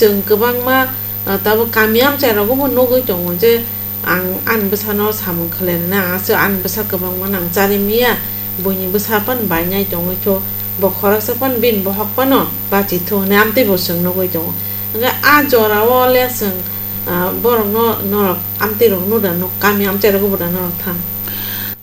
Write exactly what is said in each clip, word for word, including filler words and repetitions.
Chwng kwbangma, ah, tabuk kami amchai rogo bo nugwi tongo je ang ani bwsano samung khwlainani, ang aswk ani bwsa kwbangma nang chari miya, buini bwsa pan bainai tongwi kho, bo khoroksa pan bini bohok pano bachi thu hwnwi amtwi bo chwng nugwi tongo. Hwnkhe a jorao le chwng, ah, borokno norok amtwi rok nuda nuk kami amchai rogo bo da norok thang.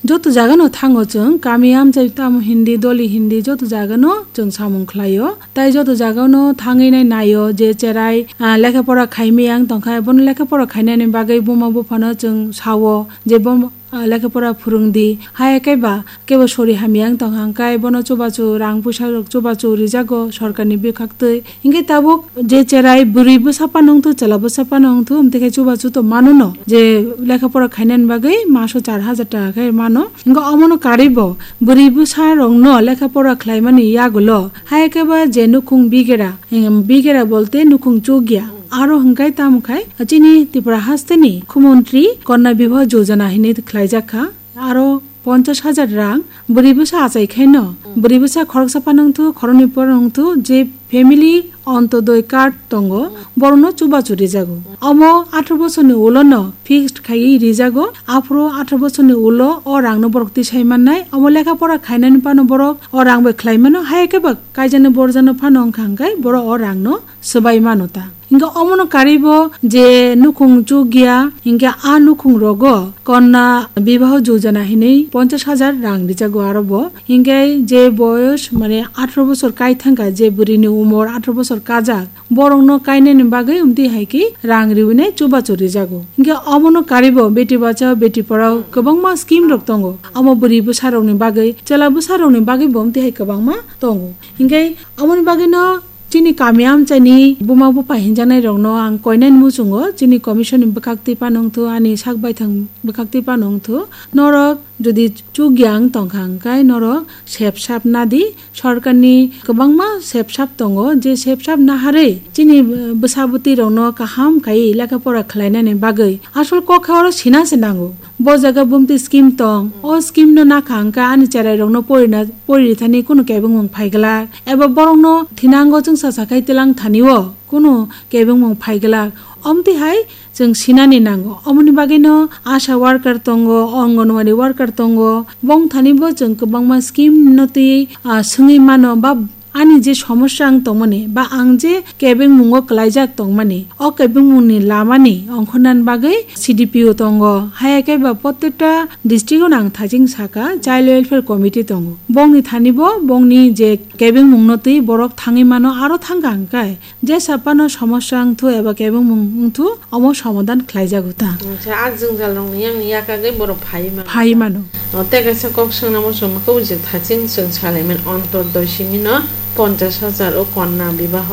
Joto jagano thango chwng, kami amchai tamo hindi, doli hindi, joto jagano chwng samung khlaio. Tai joto jagano thangwi nai naio je cherai, ah, lekha pora khaimiyang tongkha, bono lekha pora khainani bagwi buma buphano chwng sao je bo, ah, lekha pora phwrwngdi. Haya khe ba kebo sori hamyang tongkha hwnkhe bono chubachu rang puisa rok chubachu rijago sorkarni bwkhaktwi. Hinkhe tabuk je cherai bwrwi bwsa phano wngthu, chwla bwsa phano wngthu, amtwi khe chubachu to manono je lekha pora khainani bagwi maso char hajar taka khe mano. Hinkhe omono karwi bo bwrwi bwsa rokno lekha pora khlaimani yagulo hai khe ba je nukhung bigera, em, bigera bolte nukhung chukya. Aro hwnkhe tamo khai chini Tripura hasteni mukhyamantri Kanna Bibah Yojana hinwi khlaijak kha. Aro ponchash hajar rang bwrwi bwsa achai khaino bwrwi bwsa khoroksa phano wngthu, khoroknwi phano wngthu je family Antyodoi card tongo, borokno chubachu rijago. Omo atharo bosorni ulono fixed khaiwi rijago. Aphuru atharo bosorni ulo o rangno borok tisai mannai. Omo lekha pora khainani phano borok o rang bai khlai mano. Haya khe ba kaijaknai borjakno phano wngkha hwnkhe borok o rangno swbai mano ta. Hinkhe omono karwi bo je nukhung chukya, hinkhe a nukhung rogo Kanna Bibah Yojana hinwi ponchash hajar rang rijago aro bo. Hinkhe je boyos mane atharo bosor kai thangkha, je bwrwini umor atharo bosor kajak, borokno kainani bagwi amtwi hai khe rang riwinai chubachu rijago. Hinkhe omono karwi bo Beti Bachao Beti Padhao kwbangma scheme rok tongo. Omo bwrwi bwsa rokni bagwi, chwla bwsa rokni bagwi bo amtwi hai kwbangma tongo. Hinkhe omoni bagwino chini kami amchaini buma bupha hinjaknai rokno ang koinani muchungo chini commission ni bwkhaktwi phano wngthu, ani sak baithang bwkhaktwi phano wngthu. Norok jodi chukya wng tongkha hwnkhe norok sep sap nadi. Sorkarni kwbangma sep sap tongo, je sep sap naharwi chini bwsa bwtwi rokno kaham khai lekha pora khlainani bagwi asol kok khe oro sina se nango. Bo jaga bumtwi scheme tong, o scheme no nakha hwnkhe ani cherai rokno porina, pori thani kunu kebengmung phai glak, eba borokno thinango chwngsa sakhai tilang thani o kunu kebengmung phai glak. Omtwi hai chwng sinani nango. Omoni bagwino asha worker tongo, anganwadi worker tongo, bong thani bo chwng kwbangma scheme no twi, ah, swngwi mano ba ani je somosya ang tongmani ba ang je kebengmungo kwlaijak tongmani, o kebengmungni lamani ongkhornani bagwi C D P O tongo, haya khe ba protekta district-o nang thaching saka Child Welfare Committee tongo. Bongni thani bo bongni je kebengmungno twi borok thangwi mano, aro thangkha hwnkhe jesa phano somosya wngthu eba kebengmung wngthu, omo somadan khlaijago ta. Acha, a jwngjal rokni yang yakagwi borok phai mano. Phai mano. O, tei kaisa kok swngnamo chwng khe, o je thaching chwng salaimani Antyodoi simi no ponchash hajar o Kanna Bibah,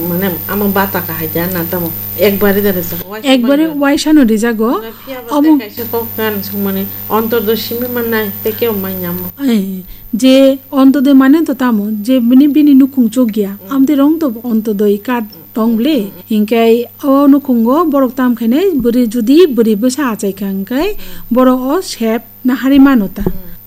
mane, amo bata kahai da na tamo ekbari da rijak. Ekbari waisa no rijago. Phiya ba omo tei kaisa kok gan sungmani Antyodoi simi mannai tei kebo manya mo. Eh, je Antyodoi mane to tamo je bini, bini nukhung chukya. Amtwi rong to Antyodoi card tong bwle. Hinkhe o nukhungo borok tam khainai bwrwi, judi bwrwi bwsa achai kha hinkhe borok o sep naharwi mano ta.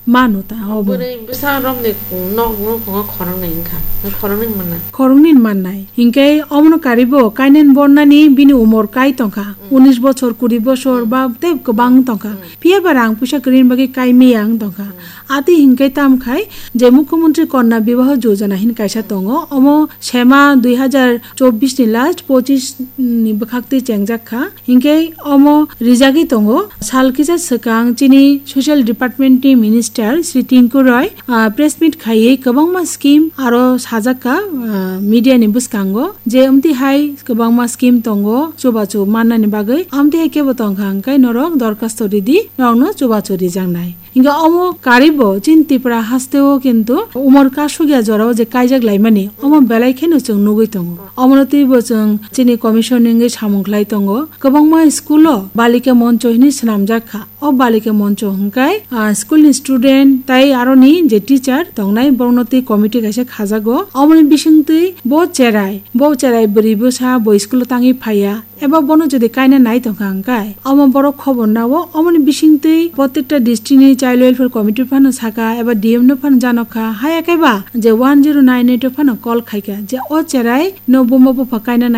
Mano ta, obo. Bwrwi bwsa romni nok nukhungo khoroknwi wngkha. Khoroknwi manna. Khoroknwi mannai. Hinkhe omono karwi bo kainani bornani bini umor kai tongkha. Unis bochor, kuri bochor ba tei kwbang tongkha. Phiya ba rang puisa kwrwini bagwi kai miyang tongkha. Ati hinkhe tam khai je Mukhyamantri Kanna Bibah Yojana hin kaisa tongo, omo sema dui hajar chobbish ni last pochish ni bwkhak twi chengjak kha. Hinkhe omo rijagwi tongo. Sal kisa swkang chini Social Department ni Minister Shri Tinku Roy, ah, press meet khaiwi kwbangma scheme aro sajak kha, ah, media ni bwskango je amtwi hai kwbangma scheme tongo chubachu mannani bagwi, amtwi hai kebo tongkha hwnkhe norok dorkhasto ridi, norokno chubachu rijaknai. Hinkhe omo karwi bo chini Tripura hasteo kintu umor kasukya jorao je kaijak laimani, omo belai kheno chwng nugwi tongo. Omono twibo chwng chini commission ni wngwi samung khlai tongo. Kwbangma school o balika moncho hinwi swnamjak kha. O balika moncho hwnkhe, ah, school ni student tai aroni je teacher tongnai borokno twi committee kaisa khajago. Omoni bisingtwi bo cherai, bo cherai bwrwi bwsa bo school o tangwi phaiya. Eba bono jodi kaina nai tongkha hwnkhe, omo borok khobor nao, omoni bisingtwi protekta district ni Child Welfare Committee phano saka, eba D M no phano janokha, haya khe ba je one zero nine eight o phano call khaikha, je o cherai no buma bupha kaina nai